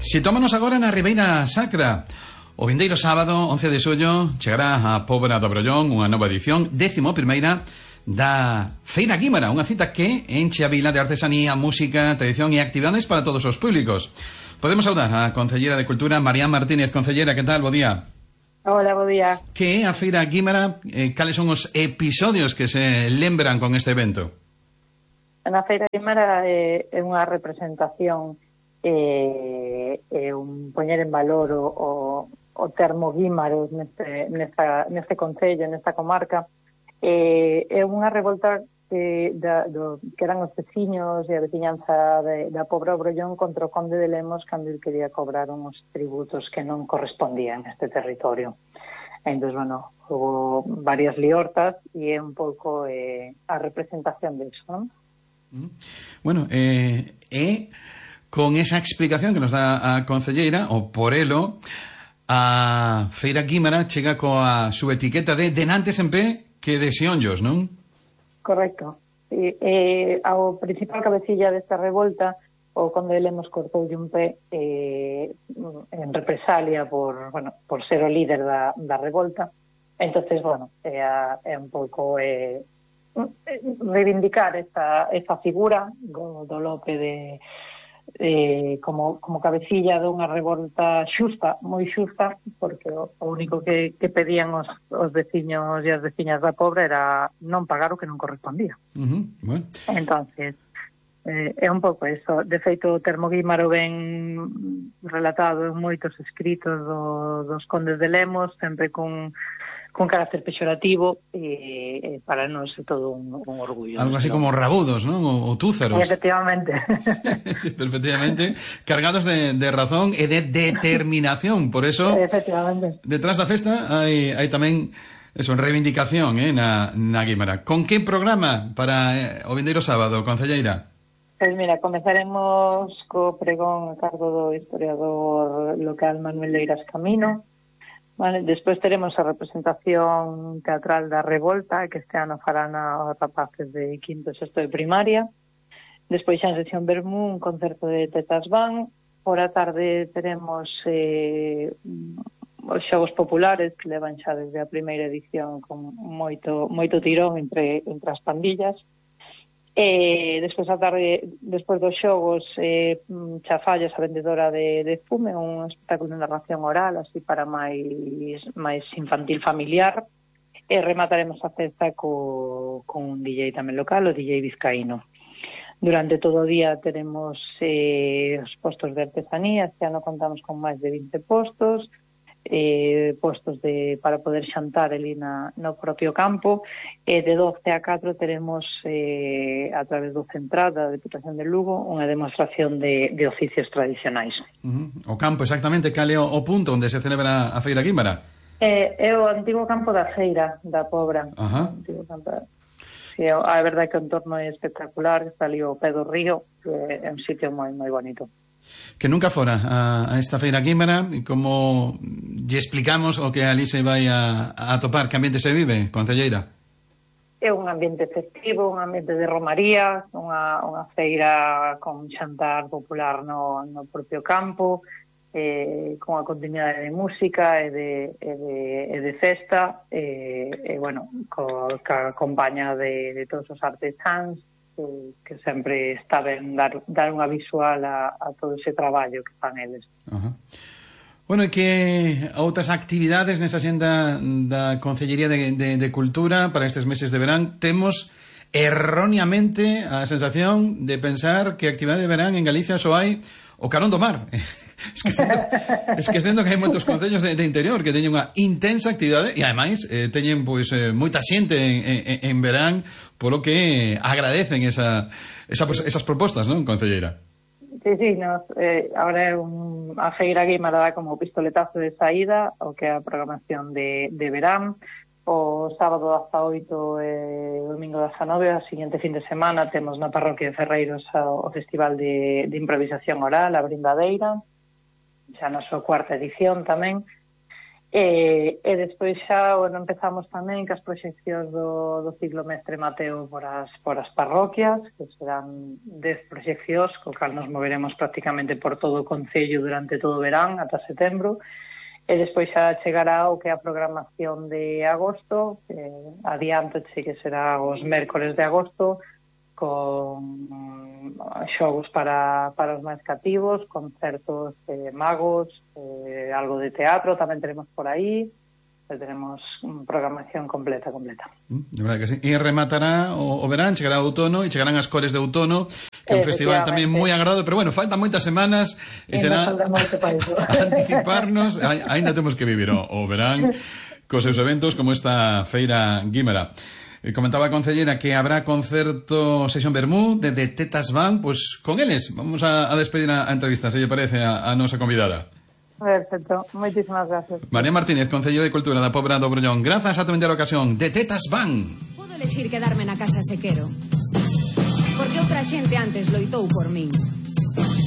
Sitómonos agora na Ribeira Sacra. O vindeiro sábado, 11 de xullo, chegará a Pobra do Brollón unha nova edición, 11ª da Feira Guímara, unha cita que enche a vila de artesanía, música, tradición e actividades para todos os públicos. Podemos saudar a Concellera de Cultura, María Martínez. Concellera, que tal? Bo día. Hola, bo día. Que é a Feira Guímara? Cales son os episodios que se lembran con este evento? Na Feira Guímara é unha representación un poñer en valor o termo guímaros neste concello, nesta comarca. É unha revolta que eran os veciños e a veciñanza da Pobra do Brollón contra o conde de Lemos cando ele quería cobrar uns tributos que non correspondían a este territorio. Entón, bueno, houve varias liortas e é un pouco a representación de iso, non? Bueno, con esa explicación que nos dá a concelleira, o por elo, a Feira Guímara chega coa subetiqueta de denantes en pé que de xeonllos, non? Correcto. Ao principal cabecilla desta revolta, o conde de Lemos cortoulle un pé en represalia por ser o líder da revolta. Entonces, bueno, é un pouco reivindicar esta figura do Lope como cabecilla dunha revolta xusta, moi xusta, porque o único que pedían os veciños e as veciñas da Pobra era non pagar o que non correspondía. Bueno. Entonces, é un pouco eso. De feito, o termo guímaro ben relatado en moitos escritos dos condes de Lemos, sempre con carácter pexorativo, e para nós é todo un orgullo. Algo así como rabudos, non? O túzaros. Efectivamente. Sí, perfectamente. Cargados de razón e de determinación. Por eso, efectivamente, detrás da festa hai tamén eso, reivindicación na Guímara. Con que programa para o vindeiro sábado, concelleira? Pois mira, comezaremos co pregón a cargo do historiador local Manuel Leiras Camino. Vale, despois teremos a representación teatral da Revolta, que este ano farán os rapaces de quinto e sexto de primaria. Despois xa en sesión Vermú, un concerto de Tetas Van. Por a tarde teremos os xogos populares, que levan xa desde a primeira edición con moito tirón entre as pandillas. Despois a tarde, despois dos xogos, Chafallas, a vendedora de fume, un espectáculo de narración oral, así para máis infantil familiar, e remataremos a festa con un DJ tamén local, o DJ Vizcaíno. Durante todo o día teremos os postos de artesanía. Este ano contamos con máis de 20 postos, postos para poder xantar ali no propio campo, e de 12 a 4 teremos a través do Central da Deputación de Lugo unha demostración de oficios tradicionais. O campo, exactamente, cal é o punto onde se celebra a Feira Guímara? É o antigo campo da Feira da Pobra. Sí, a verdade é que o entorno é espectacular, está ali o pé do río, é un sitio moi moi bonito. Que nunca fora a esta Feira Guímara, e como lle explicamos o que ali se vai a topar, que ambiente se vive, concelleira? É un ambiente festivo, un ambiente de romaría, unha feira con xantar popular no propio campo, con a continuidade de música e de festa, bueno, ca compañía de todos os artesáns, que sempre está ben dar unha visual a todo ese traballo que fan eles. Bueno, e que outras actividades nesa xenda da Concellería de Cultura para estes meses de verán? Temos erróneamente a sensación de pensar que actividade de verán en Galicia só hai o Carón do Mar. Esquecendo que hai moitos concellos de interior que teñen unha intensa actividade e ademais teñen moita xente en verán, polo que agradecen esas propostas, non, concelleira? Sí, agora é a Feira Guímara dá como pistoletazo de saída o que é a programación de verán. O sábado 18 e o domingo 19, a seguinte fin de semana, temos na parroquia de Ferreiros o Festival de Improvisación Oral, a Brindadeira, xa na súa cuarta edición tamén. E despois xa, bueno, empezamos tamén cas proxeccións do ciclo Mestre Mateo por as parroquias, que serán 10 proxeccións, co cal nos moveremos prácticamente por todo o concello durante todo o verán, ata setembro. E despois xa chegará o que é a programación de agosto, adianto que será os mércores de agosto, con xogos para os máis cativos, concertos de magos, algo de teatro tamén tenemos por aí, tenemos programación completa. De verdade que sí. E rematará o verán, chegará o outono e chegarán as cores de outono, que é un festival tamén moi agrado, pero bueno, faltan moitas semanas e será anticiparnos, aínda temos que vivir o verán cos seus eventos como esta Feira Guímara. Comentaba a concellera que habrá concerto Sesión Bermú de Tetas Band, pues con eles vamos a despedir a entrevista, se lle parece a nosa convidada. Perfecto, moitísimas gracias. María Martínez, concellera de Cultura da Pobra do Brollón, grazas a tamén da ocasión de Tetas Band. Podo elegir quedarme na casa se quero, porque outra xente antes loitou por min.